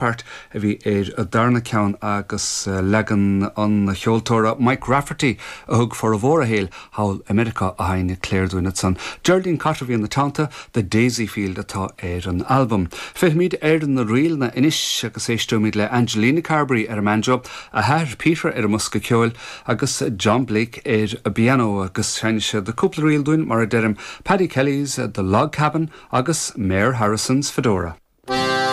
Part a bhí ar an darna ceann agus leagan an cheoltóra Mike Rafferty a thug formhór a shaoil thall i Meiriceá a sheinn Claire dúinn ansan. Geraldine Cotter a bhí ina teannta, The Daisy Field atá ar an albam. Fillfimid ar na ríleanna anois agus éisteoimid le Angelina Carberry ar an mbanjo, a hathair Peter ar an mbosca ceoil agus John Blake ar an bpianó agus seinnfidh siad cúpla ríl dúinn mar a deirim, Paddy Kelly's The Log Cabin agus Mayor Harrison's Fedora.